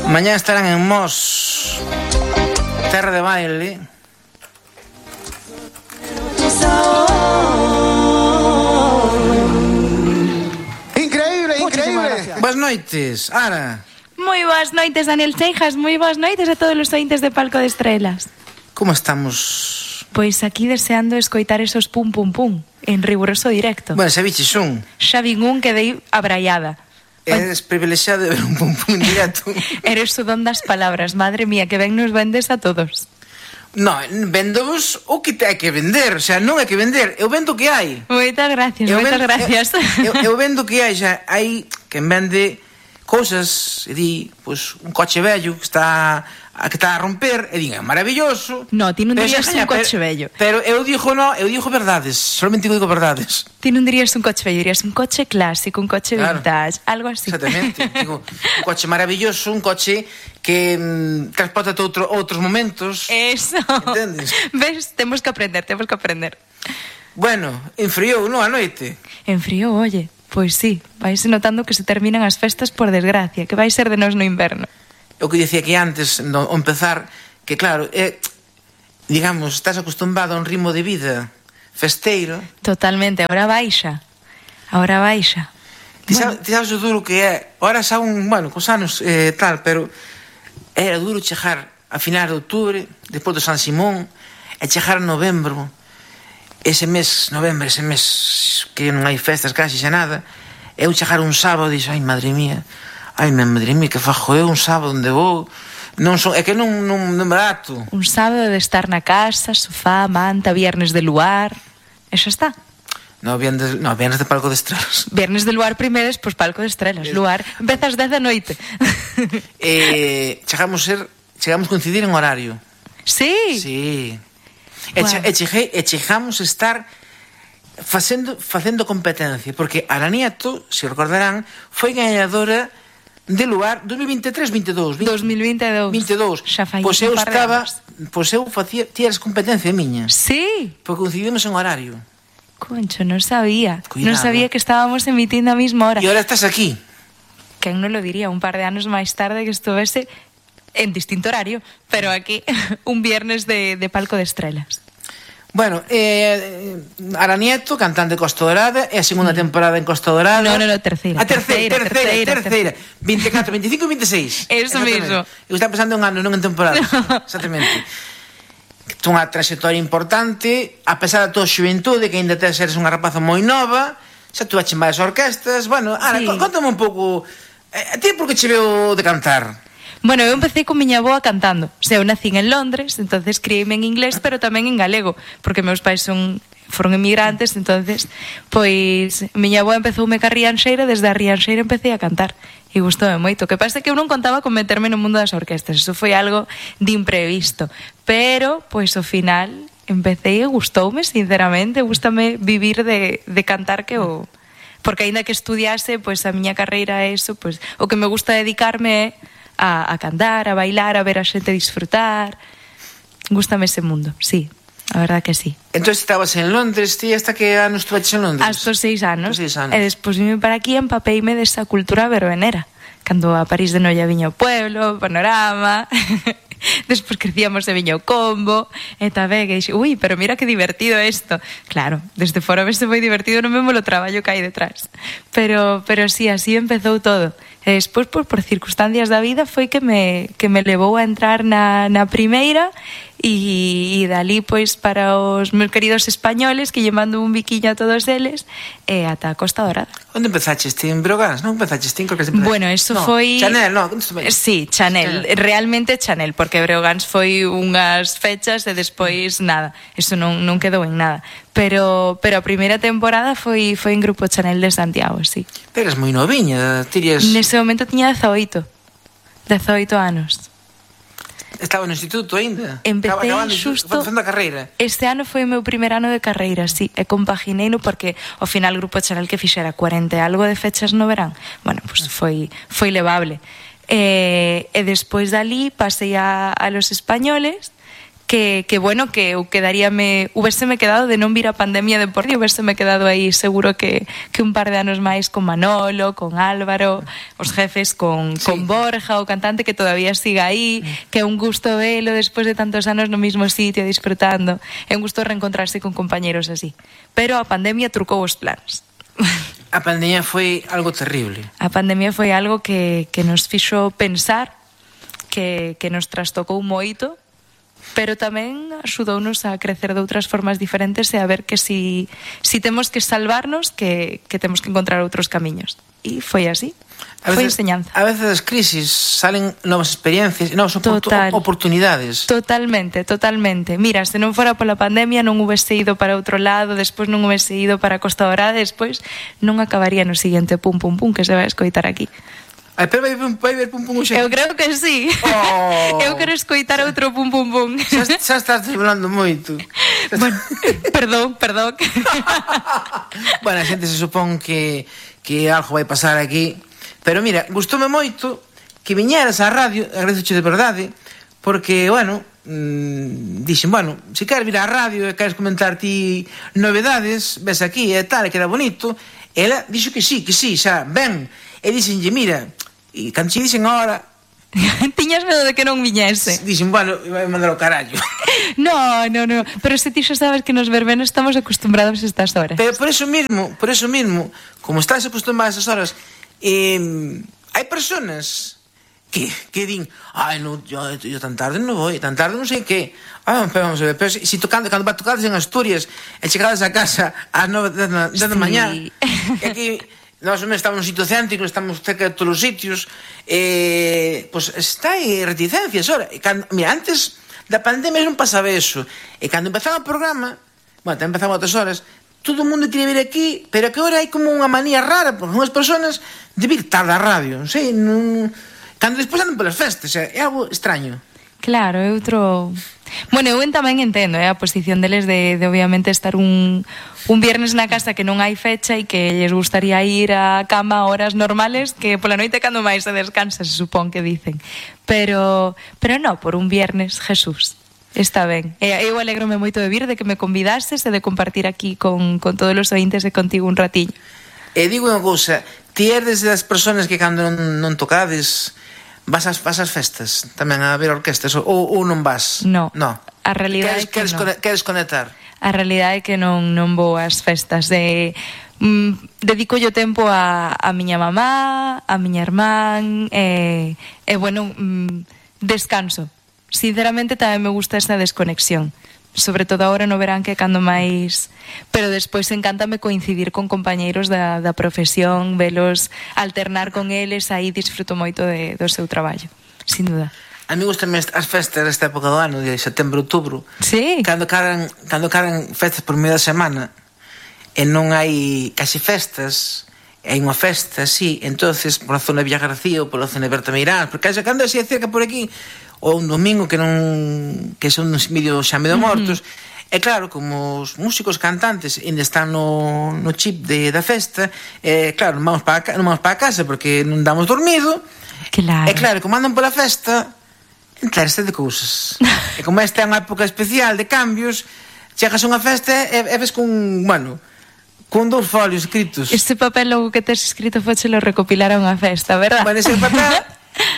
Mañá estarán en Mos, terra de baile. Increíble, increíble. Boas noites, Ara. Moi boas noites, Daniel Seijas. Moi boas noites a todos os ointes de Palco de Estrelas. Como estamos? Pois aquí deseando escoitar esos pum pum pum en riguroso directo. Bueno, se biches un. Xa vin un que dei abraiada. Eres privilexiado de ver un pum pum en directo. Eres o don das palabras, madre mía, que ben nos vendes a todos. No, vendovos o que te hai que vender. O sea, non hai que vender, eu vendo o que hai. Moitas gracias, moitas gracias. Eu vendo o que hai, xa hai quen vende cousas, e di, pois, un coche vello que está a romper, e din, é maravilloso. No, ti non dirías un coche vello. Pero eu digo verdades, solamente digo verdades. Ti non dirías un coche vello, dirías un coche clásico, un coche vintage, algo así. Exactamente, digo, un coche maravilloso, un coche que transporta outros momentos. Eso. Entendes? Ves, temos que aprender. Bueno, enfriou, non, a noite? Enfriou, oye. Pois sí, vais notando que se terminan as festas por desgracia, que vai ser de nós no inverno. O que dicía que antes, no empezar, que claro, digamos, estás acostumbrado a un ritmo de vida festeiro. Totalmente, ahora baixa. Ti sabes o duro que é, ahora xa bueno, cos anos tal, pero era duro chegar a finais de outubro, despois do San Simón, e chegar a novembro, ese mes que non hai festas casi xa nada, eu chegar un sábado e dixo, ai madre mía, que fajo eu un sábado onde vou, é que non me dato. Un sábado de estar na casa, sofá, manta, viernes de luar, e xa está. No, viernes de Palco de Estrelas. Viernes de luar primeiro, despois Palco de Estrelas. Luar, empezas 10 da noite. Chegamos a coincidir en horario. Sí? Sí. E chegamos a estar facendo competencia, porque Ara Nieto, se recordarán, foi gañadora de luar 2023-22. 2022. Xa fai pois eu un par de estaba, anos. pois eu facía tiras competencia miña. Sí? Porque coincidimos en horario. Concho, non sabía. Cuidado. Non sabía que estábamos emitindo a mesma hora. E ahora estás aquí. Quen non lo diría, un par de anos máis tarde que estuvese en distinto horario, pero aquí un viernes de Palco de Estrelas. Bueno, Ara Nieto, cantante de Costa Dorada, é a segunda temporada en Costa Dorada. No, terceira. A terceira. 24, 25 e 26. Eso mismo. Eu estaba pensando en anos, non en temporadas. No. Exactamente. Unha trayectoria importante, a pesar da tua xuventude, que ainda eres unha rapaza moi nova, xa tú aches máis orquestas. Bueno, Ara, sí. Contame un pouco, a ti por que che veo de cantar? Bueno, eu empecé con miña avoa cantando. O sea, eu nacín en Londres, entonces criei-me en inglés, pero tamén en galego, porque meus pais foron emigrantes, entonces, pois, miña avoa empezoume ca Rianxeira, desde a Rianxeira empecé a cantar, e gustoume moito. Que pasa que eu non contaba con meterme no mundo das orquestas, eso foi algo de imprevisto, pero, pois, ao final, empecé e gustoume, sinceramente, gustame vivir de cantar que o... Porque aínda que estudiase, pois, a miña carreira é eso, pois, o que me gusta dedicarme é a cantar, a bailar, a ver a xente disfrutar. Gústame ese mundo, sí, a verdad que sí. Entón estabas en Londres, ti hasta que anos estuveches en Londres? Hasta 6 anos. E despois vime para aquí e empapeime desa cultura verbenera. Cando a París de Noia viña o pueblo, Panorama... Despois crecíamos e viña o combo e tamén que dixo, ui, pero mira que divertido isto. Claro, desde fora vese moi divertido, non vemos o traballo que hai detrás. Pero sí, así empezou todo. E despois, por circunstancias da vida, foi que me levou a entrar na primeira e dali, pois, para os meus queridos españoles, que lle mando un biquiño a todos eles, e ata a Costa Dorada. Onde empezaches? Ti en Breogán? Non empezaches? Ti en Corques de Empezaste? Bueno, eso foi... Chanel, non? Sí, Chanel. Realmente Chanel, porque Breogans foi unhas fechas e despois nada. Eso non quedou en nada. Pero a primeira temporada foi en Grupo Chanel de Santiago, sí. Pero eres moi noviña, tirías... Nese momento tiña 18 anos. Estaba no instituto ainda? Empecé xusto... Facendo a carreira? Este ano foi o meu primer ano de carreira, sí. E compagineino porque ao final Grupo Chanel que fixera 40 e algo de fechas no verán. Bueno, pues foi levable. E despois dali pasei a los españoles, que bueno, que eu hubéseme quedado de non vir a pandemia de por día, hubéseme quedado aí seguro que un par de anos máis con Manolo, con Álvaro, os jefes, con Borja, o cantante que todavía siga aí, que é un gusto velo despois de tantos anos no mismo sitio disfrutando, é un gusto reencontrarse con compañeros así, pero a pandemia trucou os planos. A pandemia foi algo terrible. A pandemia foi algo que nos fixo pensar, que nos trastocou moito, pero tamén axudounos a crecer de outras formas diferentes e a ver que si temos que salvarnos, que temos que encontrar outros camiños. E foi así. Foi enseñanza. A veces das crisis salen novas experiencias e novas oportunidades. Totalmente. Mira, se non fora pola pandemia non hubese ido para outro lado, despois non hubese ido para Costa Dorada, despois non acabaría no seguinte pum pum pum que se vai escoitar aquí. Pero vai ver pum pum xe. Eu creo que sí. Eu quero escoitar outro pum pum pum. Xa estás falando moito. Bueno, perdón. Bueno, a xente se supón que algo vai pasar aquí. Pero mira, gustoume moito que viñeras á radio, agradezoche de verdade, porque, bueno, dixen, bueno, se queres vir á radio e queres comentar ti novedades, ves aquí e tal, que era bonito. Ela dixo que sí, xa, ben. E dixenlle, mira, e cando che dixen ahora... Tiñas medo de que non viñese. Dixen, bueno, vai mandar o carallo. No, pero se ti xa sabes que nos verbenos estamos acostumbrados a estas horas. Pero por eso mismo, como estás acostumbrado a esas horas, hai personas que din, no, yo tan tarde non vou, tan tarde non sei que. Pero vamos a ver, pero si cando tocades en Asturias e chegades a casa ás 9 da mañá, e aquí nós estamos nun sitio céntrico, estamos cerca de todos os sitios, pois está aí reticencias. Mira, antes da pandemia non pasaba eso, e cando empezaba o programa, bueno, tamén empezaba outras horas, todo o mundo quería vir aquí, pero que ahora hai como unha manía rara por unhas persoas de vir tarde á radio, non sei, cando despois andan polas festas, é algo extraño. Claro, é outro... Bueno, eu tamén entendo a posición deles de obviamente estar un viernes na casa que non hai fecha e que lles gustaría ir á cama a horas normales, que pola noite cando máis se descansa, se supón que dicen. Pero non, por un viernes, Jesús. Está ben. Eu alegrome moito de vir, de que me convidases e de compartir aquí con todos os ointes e contigo un ratiño. E digo unha cousa, ti eres das persoas que cando non tocades vas ás festas tamén a ver orquestas ou non vas? No. A realidade é que non. Queres conectar? A realidade é que non vou ás festas. Dedico yo tempo a miña mamá, a miña irmán e bueno, descanso. Sinceramente tamén me gusta esa desconexión, sobre todo agora no verán que cando máis, pero despois encántame coincidir con compañeiros da profesión, velos, alternar con eles, aí disfruto moito do seu traballo, sin duda. A mí gustan as festas desta época do ano, de setembro, outubro. Sí. Cando caran festas por media semana e non hai casi festas, hai unha festa, sí, entonces por a zona de Villa García ou pola zona de Berta Meirás, porque cando así cerca por aquí, ou un domingo que son uns medio xa medio mortos, e claro, como os músicos cantantes ainda están no chip da festa, claro, non vamos para a casa porque non damos dormido. Claro. E claro, como andan pola festa, enterarse de cousas. E como esta é unha época especial de cambios, chegas a unha festa e ves con 2 folios escritos. Este papel logo que tes escrito fochelo recopilar a unha festa, verdad? Bueno, ese papel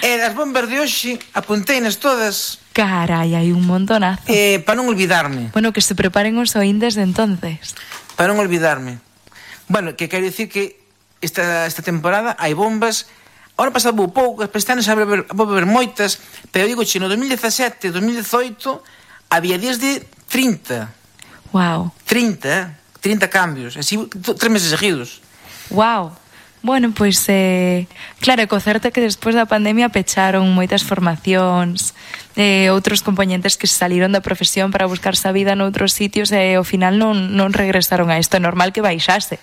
e das bombas de hoxe apunteinas todas. Carai, hai un montonazo. Para non olvidarme. Bueno, que se preparen os oíndes de entonces. Para non olvidarme. Bueno, que quero dicir que esta temporada hai bombas. Ahora pasado vou pouco, este ano xa vou ver moitas, pero digo che, no 2017, 2018 había días de 30. Wow. 30 cambios, así 3 meses seguidos. Wow. Bueno, pois, claro, co certo que despois da pandemia pecharon moitas formacións, outros componentes que saliron da profesión para buscarse a vida noutros sitios e ao final non regresaron a isto. É normal que baixase,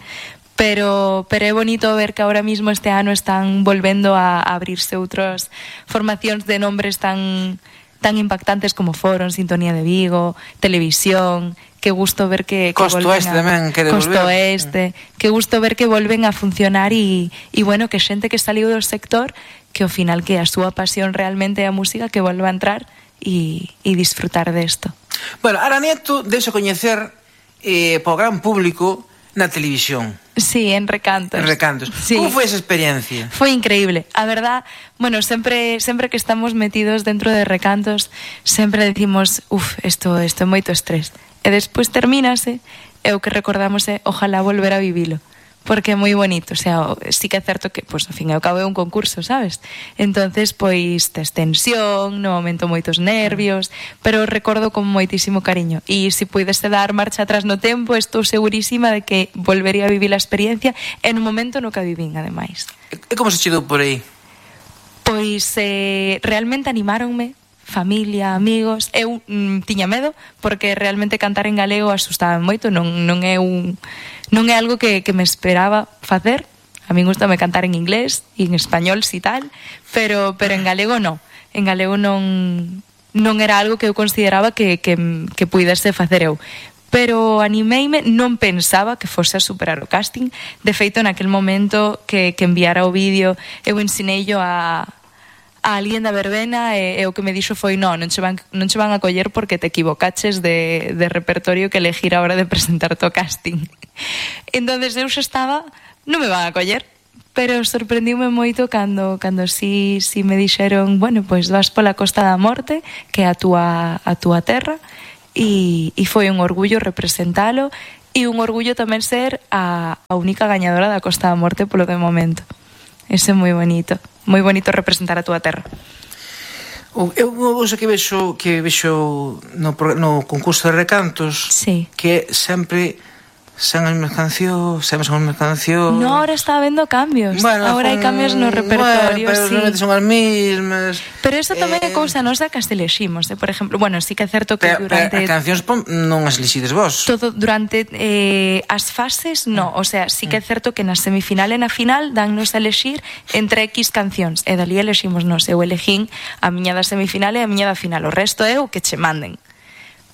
pero é bonito ver que ahora mismo este ano están volvendo a abrirse outras formacións de nombres tan impactantes como Foron, Sintonía de Vigo, Televisión. Que gusto ver que Costo Oeste tamén quere volver. Costo Oeste, que gusto ver que volven a funcionar e bueno, que xente que saliu do sector, que ao final que a súa pasión realmente é a música, que volva a entrar e disfrutar desto. Bueno, Ara Nieto deixa coñecer para o gran público na televisión. Sí, en Recantos. En Recantos. Sí. Como foi esa experiencia? Foi increíble. A verdad, bueno, sempre que estamos metidos dentro de Recantos, sempre decimos, isto é moito estrés. E despois termínase, e o que recordamos é ojalá volver a vivilo. Porque é moi bonito, o sea, sí que é certo que, pois, ao fin e ao cabo é un concurso, sabes? Entonces, pois, tes tensión, no momento moitos nervios, pero recordo con moitísimo cariño. E se puidese dar marcha atrás no tempo, estou segurísima de que volvería a vivir a experiencia en un momento no que a vivín, ademais. E como se che dou por aí? Pois, realmente animáronme, familia, amigos. Eu tiña medo porque realmente cantar en galego asustaba moito, non é algo que me esperaba facer. A mí gustame cantar en inglés e en español si tal, pero en galego non. En galego non era algo que eu consideraba que puidese facer eu. Pero animeime, non pensaba que fose a superar o casting. De feito, naquel momento que enviara o vídeo, eu ensineillo a alguén da verbena e o que me dixo foi non che van a coller porque te equivocaches de repertorio que elegir a hora de presentarte o casting. Entonces eu xa estaba, non me van a coller, pero sorprendiume moito cando si me dixeron, bueno, pois vas pola Costa da Morte, que é a túa terra, e foi un orgullo representalo e un orgullo tamén ser a única gañadora da Costa da Morte polo de momento. Eso é moi bonito representar a túa terra. Eu unha cousa que vexo no concurso de Recantos, sí, que sempre son as mesmas cancións. No, ahora está habendo cambios. Bueno, ahora hai cambios no repertorio, pero sí. Realmente son as mesmas. Pero eso tamén é cousa nosa que as eleximos, por exemplo, bueno, sí que é certo que durante as cancións non as elixides vos. Todo durante as fases, no, o sea, sí que é certo que na semifinal e na final dannos a elexir entre X cancións, e dali eleximos nos, eu elegín a miña da semifinal e a miña da final, o resto é o que che manden.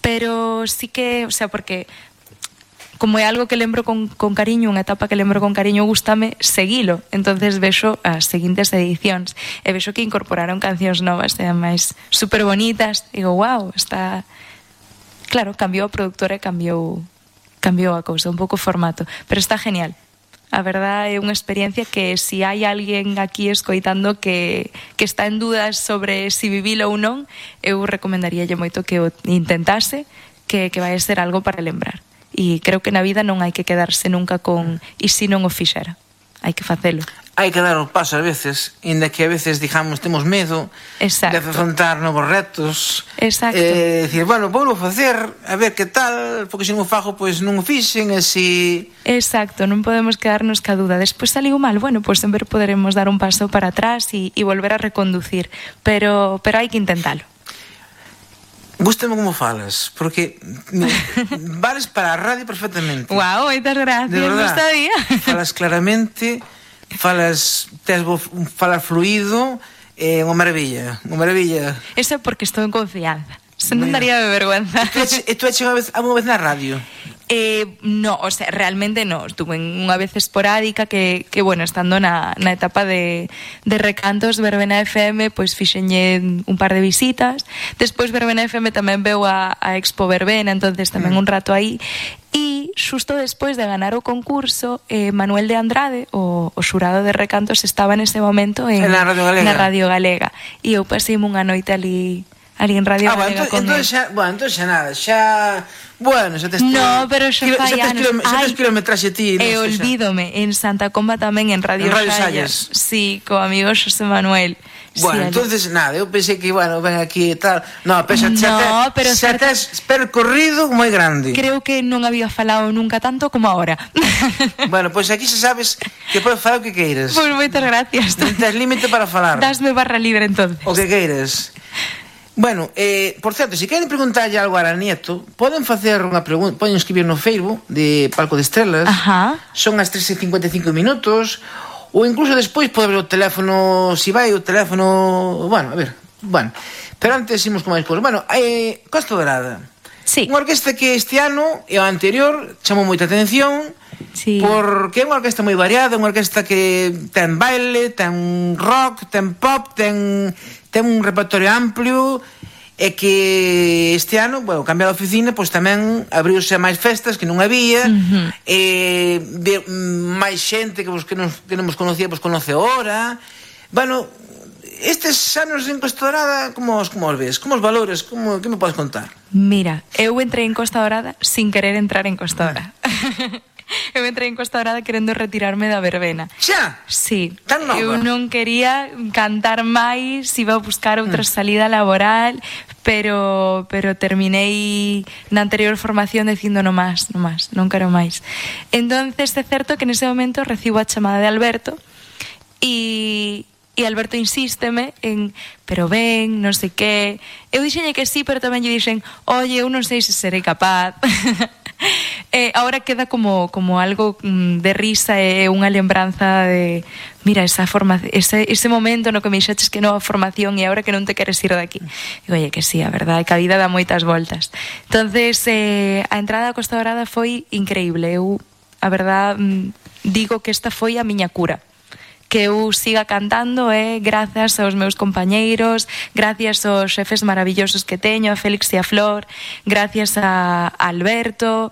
Pero sí que, o sea, porque como é algo que lembro con cariño, unha etapa que lembro con cariño, gústame seguilo. Entonces vexo as seguintes edicións e vexo que incorporaron cancións novas e ademais super bonitas. Digo, wow, está... Claro, cambiou a productora e cambiou a cousa, un pouco o formato, pero está genial. A verdad é unha experiencia que si hai alguén aquí escoitando que está en dudas sobre si vivilo ou non, eu recomendaríalle moito que o intentase, que vai ser algo para lembrar. E creo que na vida non hai que quedarse nunca con e se non o fixera. Hai que facelo. Hai que dar o paso a veces, inda que a veces, digamos, temos medo. Exacto. De afrontar novos retos. Exacto. Decir, bueno, vou facer, a ver que tal, porque se non o fago, pois non o fixen, e si... Exacto, non podemos quedarnos ca dúda. Despois saliu mal, bueno, pois sempre poderemos dar un paso para atrás e volver a reconducir, pero hai que intentalo. Gústame como falas, porque vales para a radio perfectamente. Guau, moitas gracias, non sabía. Falas claramente, falas fluido, unha maravilla, unha maravilla. Eso é porque estou en confianza. Se non daría de vergüenza. E tú eches unha vez na radio? No, o sea, realmente no. Estuve en unha vez esporádica que bueno, estando na etapa de Recantos, Verbena FM, pois fixenlle un par de visitas. Despois Verbena FM tamén veu a Expo Verbena, entonces tamén un rato aí. E xusto despois de ganar o concurso, Manuel de Andrade, o xurado de Recantos, estaba nese momento na Radio Galega. E eu paseime unha noite ali en Radio Galega con ele. Entón xa nada, xa... Bueno, xa tes... No, pero xa fai anos. Xa tes kilometraxe ti. E olvídome, en Santa Comba tamén, en Radio Sallas. Sí, co amigo Xosé Manuel. Bueno, sí, entonces nada, eu pensei que, bueno, ven aquí e tal. No, pero xa tes percorrido moi grande. Creo que non había falado nunca tanto como ahora. Bueno, pois aquí xa sabes que podes falar o que queiras. Pois moitas gracias. Non tes límite para falar. Dasme barra libre, entonces. O que queiras. Bueno, por certo, se queren preguntarlle algo a Ara Nieto, poden facer unha pregunta, poden escribir no Facebook de Palco de Estrelas. Ajá. Son as 3:55 minutos, ou incluso despois pode ver o teléfono, se vai o teléfono, bueno, a ver, bueno. Pero antes imos con máis cousas. Bueno, Costa Dorada. Sí. Unha orquesta que este ano e o anterior chamou moita atención. Sí. Porque é unha orquesta moi variada, unha orquesta que ten baile, ten rock, ten pop, ten un repertorio amplio é que este ano, bueno, cambiar a oficina, pois tamén abriuse a máis festas que non había, máis xente que non vos conocía, vos conoce ahora. Bueno, estes anos en Costa Dorada, como os ves? Como os valores? Que me podes contar? Mira, eu entrei en Costa Dorada sin querer entrar en Costa Dorada. Eu entrei en Costa Dorada querendo retirarme da verbena. Xa? Sí. Tan nova? Eu non quería cantar máis, iba a buscar outra salida laboral, pero terminei na anterior formación dicindo non quero máis. Entonces é certo que nese momento recibo a chamada de Alberto e Alberto insísteme en pero ven, non sei que. Eu dixenlle que sí, pero tamén lle dixen oye, eu non sei se serei capaz. Ahora queda como algo de risa e unha lembranza de mira, ese momento no que me dixeches que non a formación e agora que non te queres ir daqui. Digo, oye, que sí, a verdade, que a vida dá moitas voltas. Entonces, a entrada a Costa Dorada foi increíble. Eu, a verdade, digo que esta foi a miña cura. Que eu siga cantando grazas aos meus compañeiros, gracias aos xefes maravillosos que teño, a Félix e a Flor, gracias a Alberto.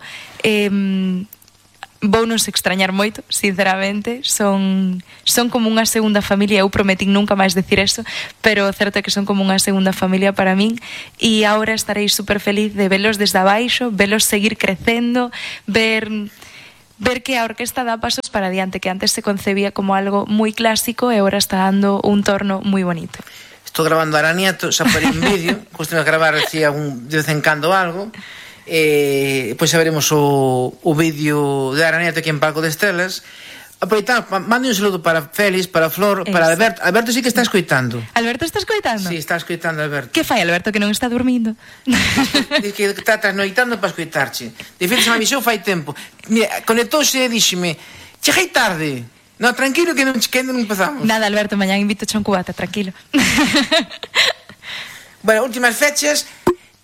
Vounos extrañar moito, sinceramente. Son como unha segunda familia. Eu prometín nunca máis decir eso, pero certo é que son como unha segunda familia para min. E agora estarei super feliz de velos desde abaixo, velos seguir crecendo, ver que a orquesta dá pasos para adiante, que antes se concebía como algo moi clásico e agora está dando un torno moi bonito. Estou grabando a Aranieto, xa por un vídeo, costumo gravar de vez en cando algo, pois xa veremos o vídeo de Aranieto aquí en Palco de Estelas. Aproveitamos, mande un saludo para Félix, para Flor, para Alberto. Alberto sí que está escoitando. Alberto está escoitando? Sí, está escoitando Alberto. Que fai Alberto que non está dormindo? Diz que está trasnoitando para escoitarche. De feito, se me avisou fai tempo. Mira, conectouse e díxeme, cheguei tarde. No, tranquilo que non empezamos. Nada, Alberto, mañán invito a un cubata, tranquilo. Bueno, últimas fechas.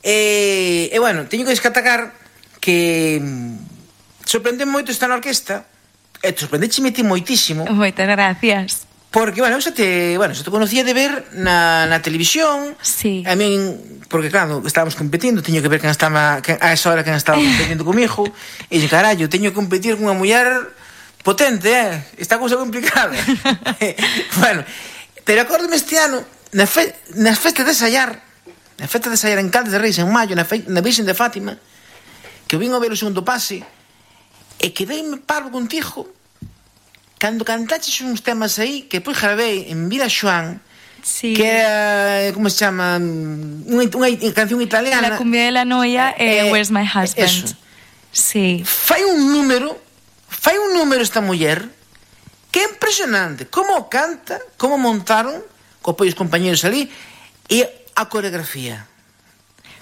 Bueno, teño que destacar que sorprende moito estar na orquesta. E te sorprendécheme ti moitísimo. Moitas gracias. Porque, bueno, xa te conocía de ver na televisión. Sí. A min, porque claro, estábamos competindo, teño que ver a esa hora quen estaba competindo comigo. E dixen, carallo, teño que competir con unha muller potente, esta cousa complicada. Bueno, pero acórdome este ano, nas festas de ensaiar en Caldes de Reis, en maio, na Virxen de Fátima, que eu vin a ver o segundo pase, e quedeime parvo contigo cando cantaches uns temas aí que depois grabei en Vila Xoán, sí. Que era, como se chama, unha canción italiana, La cumbia de la noia e Where's My Husband. Eso. Sí. Fai un número esta muller que é impresionante, como canta, como montaron co apoio os compañeros ali e a coreografía.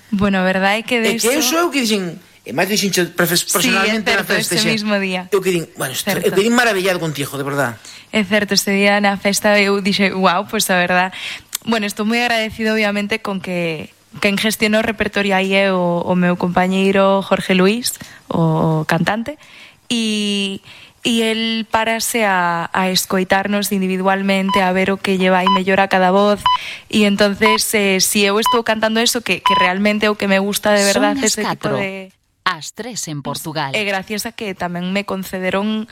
Bueno, a verdade é que de iso eu sou que dixen. E máis dixencho personalmente na festa ese mismo día. Eu quedín, bueno, eu quedín maravillado contigo, de verdad. É certo, ese día na festa eu dixe, wow, pues a verdad. Bueno, estou moi agradecido obviamente con que quen gestionou o repertorio aí é o meu compañeiro Jorge Luis, o cantante, e el parase a escoitarnos individualmente, a ver o que lleva aí mellor a cada voz, e entonces si eu estou cantando eso que realmente é o que me gusta de verdade, ese tipo de... As 3 en Portugal. E gracias a que tamén me concederon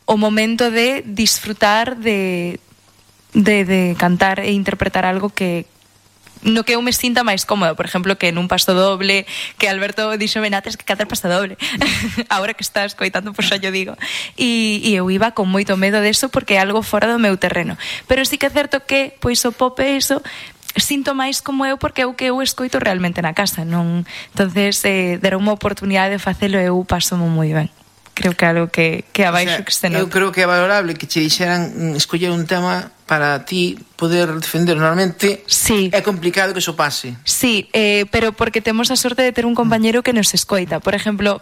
o momento de disfrutar de cantar e interpretar algo que no que eu me sinta máis cómoda, por exemplo, que nun paso doble, que Alberto dixo Benates que cantar paso doble. Agora que estás coitando, pois xa yo digo. E eu iba con moito medo deso porque é algo fora do meu terreno. Pero sí que é certo que pois o pop é iso, sinto máis como eu porque é o que eu escoito realmente na casa, non? Entonces, deron unha oportunidade de facelo e eu paso moi ben. Creo que é algo que abaixo que se nota. Eu creo que é valorable que che dixeran escoller un tema para ti poder defender. Normalmente sí. É complicado que eso pase. Sí, pero porque temos a sorte de ter un compañero que nos escoita. Por exemplo,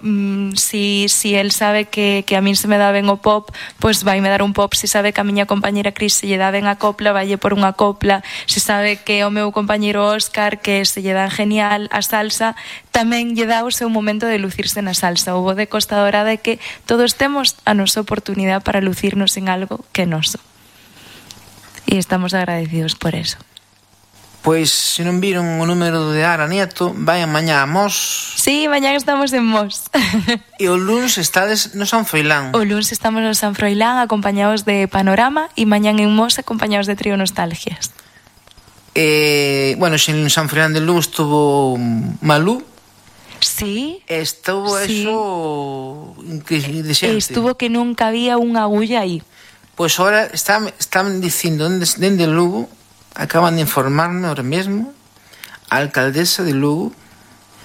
si él sabe que a min se me dá ben o pop, pois vai me dar un pop. Si sabe que a miña compañera Cris se lle dá ben a copla, vaille por unha copla. Si sabe que o meu compañero Óscar que se lle dá genial a salsa, tamén lle dá o seu momento de lucirse na salsa. O bo de Costa Dorada é que todos temos a nosa oportunidade para lucirnos en algo que é noso. E estamos agradecidos por eso. Pois, se non viron o número de Ara Nieto, vayan mañá a Mos. Sí, mañá estamos en Mos. E o luns estades no San Froilán. O luns estamos no San Froilán acompañados de Panorama e mañán en Mos acompañados de Trío Nostalgias. Bueno, en San Froilán de Lugo estuvo Malú. Sí. Estuvo sí. Eso de xente. Estuvo que nunca había unha agulla aí. Pois ahora están dicindo dende Lugo, acaban de informarme ahora mesmo a alcaldesa de Lugo.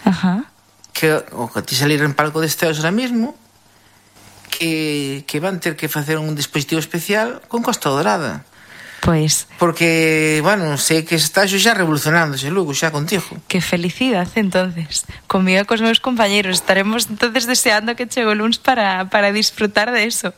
Ajá. Que o que ti salir en palco deste ahora mesmo que van ter que facer un dispositivo especial con Costa Dorada. Pois. Porque, bueno, sei que está xa revolucionándose Lugo, xa contigo. Que felicidade, entonces. Comigo e cos meus compañeros. Estaremos entonces deseando que chegue o luns para disfrutar de eso.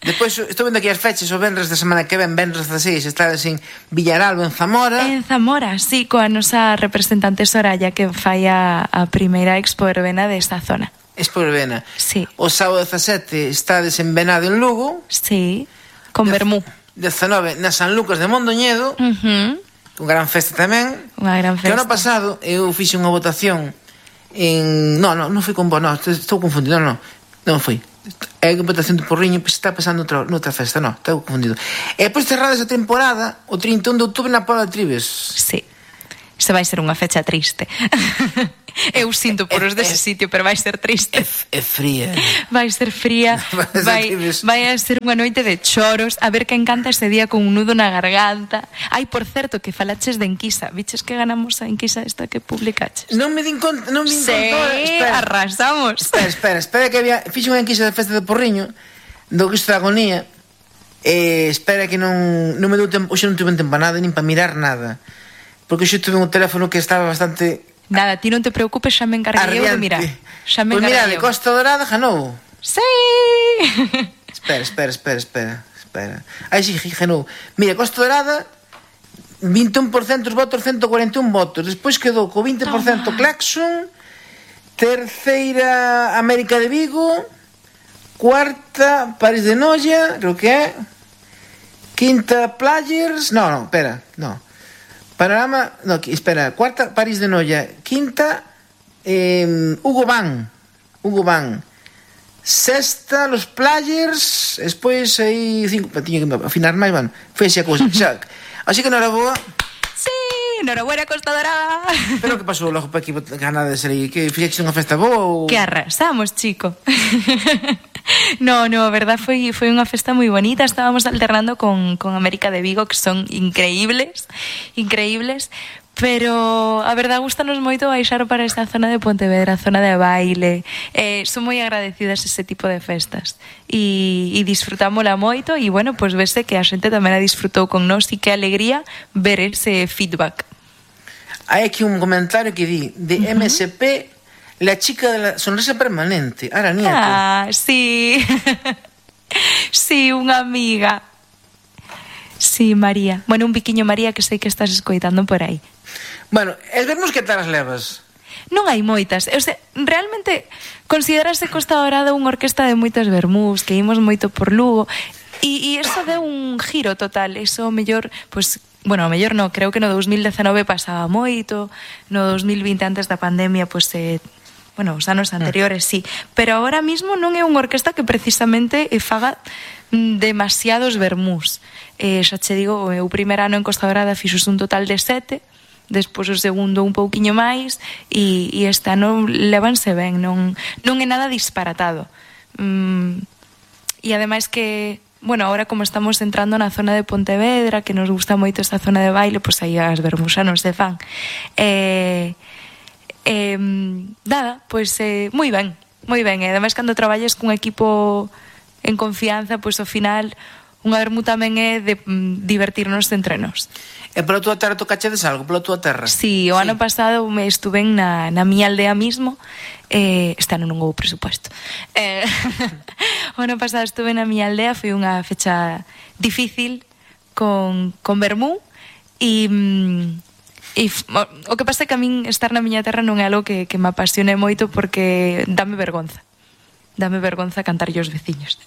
Despois, estou vendo aquí as fechas, o venres da semana que ven, venres 16, estades en Villaralbo, en Zamora. En Zamora, sí, coa nosa representante Soraya, que fai a primeira expo verbena desta zona. Expo verbena. Sí. O sábado 17 estades en Venado, en Lugo. Sí, con Bermú. 19 na San Lucas de Mondoñedo. Con gran festa tamén. Unha gran festa. Que ano pasado eu fixe unha votación en... Non fui con vos, estou confundido, non fui. É unha votación de Porriño, pois está pasando noutra festa, estou confundido. E depois cerrada esa temporada, o 31 de outubro na Paula de Tribes. Sí. Se vai ser unha fecha triste. Eu sinto por os dese sitio, pero vai ser triste. É fría. Vai ser fría. Vai a ser unha noite de choros. A ver quen canta ese día con un nudo na garganta. Ai, por certo, que falaches de enquisa. Viches que ganamos a enquisa esta que publicaches? Non me din conta. Sí, arrasamos. Espera que había... Fixe unha enquisa de festa de Porriño do Cristo da Agonía. Espera que non me deu tempo. Hoxe non tuve tempo nada, nin para mirar nada. Porque hoxe tuve un teléfono que estaba bastante... Nada, ti non te preocupes, xa me encarguei eu de mirar. Xa me encarguei. Pois mira, de Costa Dorada ganou. Sí. Espera. Aí sí, ganou. Mira, Costa Dorada 21% os votos, 141 votos. Despois quedou co 20% Claxon, terceira América de Vigo, cuarta París de Noia, creo que é, quinta Players, Panorama, cuarta París de Noia, quinta Hugo Van, sexta Los Players, despois aí cinco, tiña que afinar máis, foi así a cousa. Así que enhoraboa. Sí, enhorabuena Costa Dorada. Pero que pasou logo para aquí ganar de ser aí? Que fixeches unha festa boa ou... Que arrasamos, chico. No, a verdad foi unha festa moi bonita. Estábamos alternando con América de Vigo, que son increíbles, pero a verdad gustanos moito baixar para esta zona de Pontevedra, zona de baile. Son moi agradecidas ese tipo de festas e disfrutámola moito e, bueno, pues vese que a xente tamén a disfrutou con nós e que alegría ver ese feedback. Hai aquí un comentario que di de MSP, la chica de la sonrisa permanente, Ara Nieto. Ah, sí. Sí, unha amiga. Sí, María. Bueno, un biquiño María que sei que estás escoitando por aí. Bueno, es vermos que tal as levas. Non hai moitas. O sea, realmente considerase Costa Dorada unha orquesta de moitas vermús, que imos moito por Lugo, e eso deu un giro total. Eso mellor, pues, bueno, mellor non, creo que no 2019 pasaba moito, no 2020 antes da pandemia, pues, bueno, os anos anteriores, sí, pero agora mismo non é unha orquesta que precisamente faga demasiados vermús. Xa che digo, o primer ano en Costa Dorada fixos un total de 7, despois o segundo un pouquiño máis, e este ano levanse ben, non é nada disparatado. E ademais que, bueno, ahora como estamos entrando na zona de Pontevedra, que nos gusta moito esta zona de baile, pois aí as vermús xa non se fan. Nada, pois moi ben. E ademais cando traballes cun equipo en confianza, pois ao final unha vermú tamén é de divertirnos entre nós. E pola túa terra tocachedes algo, pola túa terra? Sí, o ano pasado me estuve na miña aldea mismo. Este ano non houve presupuesto. O ano pasado estuve na miña aldea, foi unha fecha difícil con vermú e o que pasa é que a min estar na miña terra non é algo que me apasione moito porque dame vergonza cantar os veciños.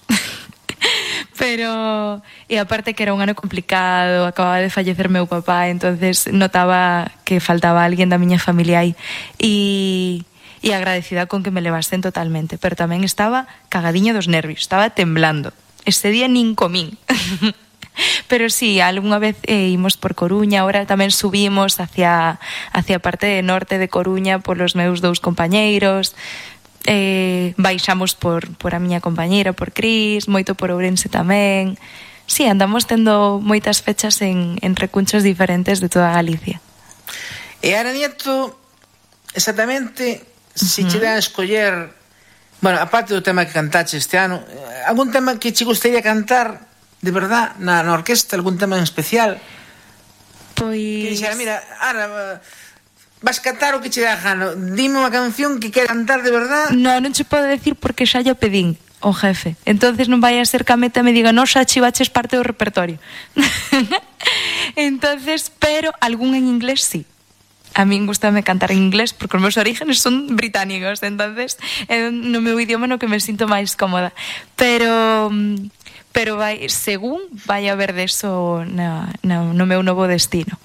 Pero, e aparte que era un ano complicado, acababa de fallecer meu papá, entonces notaba que faltaba alguén da miña familia aí. E agradecida con que me levasen totalmente, pero tamén estaba cagadiña dos nervios, estaba temblando. Ese día nin comín. Pero sí, algunha vez imos por Coruña, ahora tamén subimos hacia a parte norte de Coruña polos meus dous compañeiros. Baixamos por a miña compañeira, por Cris, moito por Ourense tamén. Sí, andamos tendo moitas fechas en recunchos diferentes de toda Galicia. E Ana Nieto, exactamente, se che dan a escoller, bueno, aparte do tema que cantache este ano, algún tema que che gustaría cantar de verdad na orquesta, algún tema en especial? Pois... Que dixera, mira, Ana, vas cantar o que che dá a gana, dime unha canción que quere cantar de verdad. Non che podo decir porque xa lle pedín o jefe, entonces non vai a ser que a meta me diga no, xa chivaches parte do repertorio. Entonces, pero algún en inglés sí. A min gustame cantar en inglés porque os meus orígenes son británicos, entonces no meu idioma no que me sinto máis cómoda, pero vai, según vai haber deso no meu novo destino.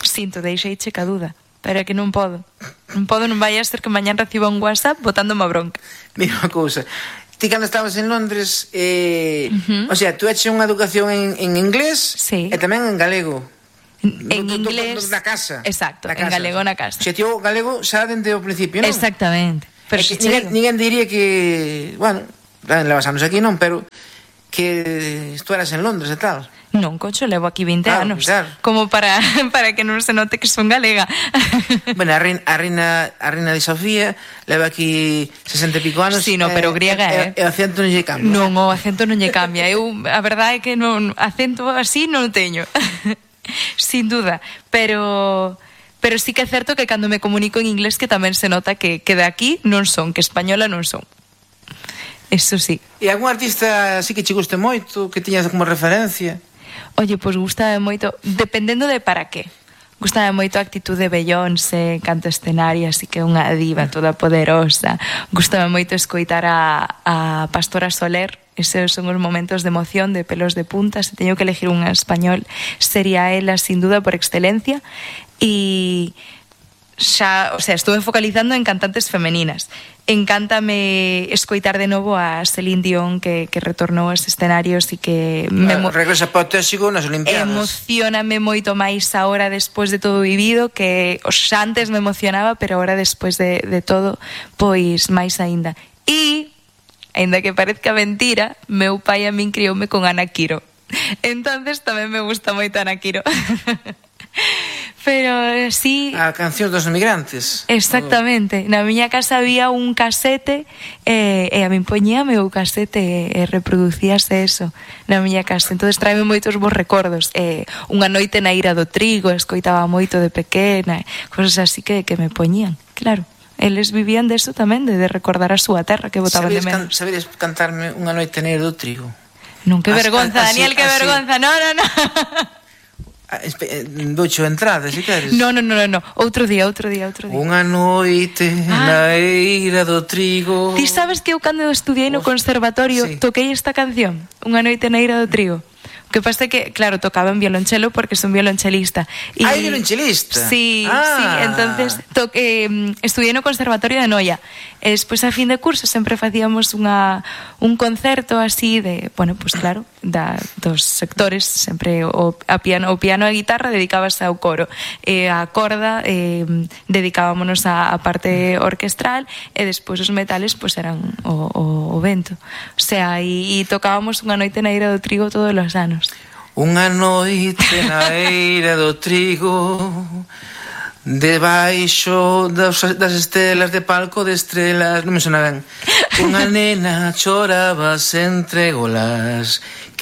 Sinto, deixeiche ca duda, pero é que non podo, non vai a ser que mañán reciba un WhatsApp botándome a bronca. Mira unha cousa, ti cando estabas en Londres, o sea, tú eches unha educación en inglés, sí, e tamén en galego. En inglés na casa. Exacto, na en casa. galego na casa. Se tío galego xa dende o principio, non? Exactamente. Pero que ninguén diría que, bueno, levas anos aquí, non, pero que tú eras en Londres e tal. Non, concho, levo aquí 20 anos. Claro. Como para que non se note que son galega. Bueno, a reina de Sofía leva aquí 60 e pico anos. Sí, no, pero griega, E o acento non lle cambia. Non, o acento non lle cambia. A verdade é que non, acento así non teño. Sin duda, pero sí que é certo que cando me comunico en inglés que tamén se nota que de aquí non son, que española non son. Eso sí. E algún artista así que che guste moito, que tiñas como referencia? Oye, pois gustame moito, dependendo de para qué. Gustame moito a actitude de Beyoncé, canto escenario, así que unha diva toda poderosa. Gustame moito escoitar a Pastora Soler. Esos son os momentos de emoción, de pelos de punta. Se teño que elegir un español, sería ela sin duda por excelencia. E xa, o sea, estuve focalizando en cantantes femeninas. Encántame escoitar de novo a Celine Dion que retornou aos escenarios e que regresa apotésico nas Olimpiadas. Emocioname moito máis agora despois de todo vivido, que xa antes me emocionaba, pero agora despois de todo, pois máis aínda. E aínda que parezca mentira, meu pai a min crioume con Ana Quiro. Entonces tamén me gusta moito Ana Quiro. Pero sí... A canción dos emigrantes. Exactamente. Na miña casa había un casete e a min poñíame o casete e reproducíase eso na miña casa. Entonces traeme moitos bons recordos. Unha noite na Ira do Trigo, escoitaba moito de pequena, cosas así que me poñían, claro. Eles vivían deso tamén, de recordar a súa terra que botaban de menos. Sabedes cantarme Unha noite na Ira do Trigo? Non, que vergonza, Daniel, que vergonza. No. Doucho entrada, se queres. No. Outro día. Unha noite na eira do trigo. Ti sabes que eu cando estudiei no conservatorio toquei esta canción, Unha noite na eira do trigo. O que pasa é que, claro, tocaba en violonchelo porque son violonchelista. ¿Hai violonchelista? Sí, entonces estudiei no conservatorio de Noia. E despois a fin de curso sempre facíamos un concerto así de, bueno, pues claro, dos sectores, sempre o piano e a guitarra dedicábase ao coro, e a corda dedicábamos a parte orquestral, e despois os metales pues eran o vento. O sea, e tocábamos Unha noite na eira do trigo todos os anos. Unha noite na eira do trigo, debaixo das estelas, de palco de estrelas, non me sona ben. Unha nena choraba entre golas, que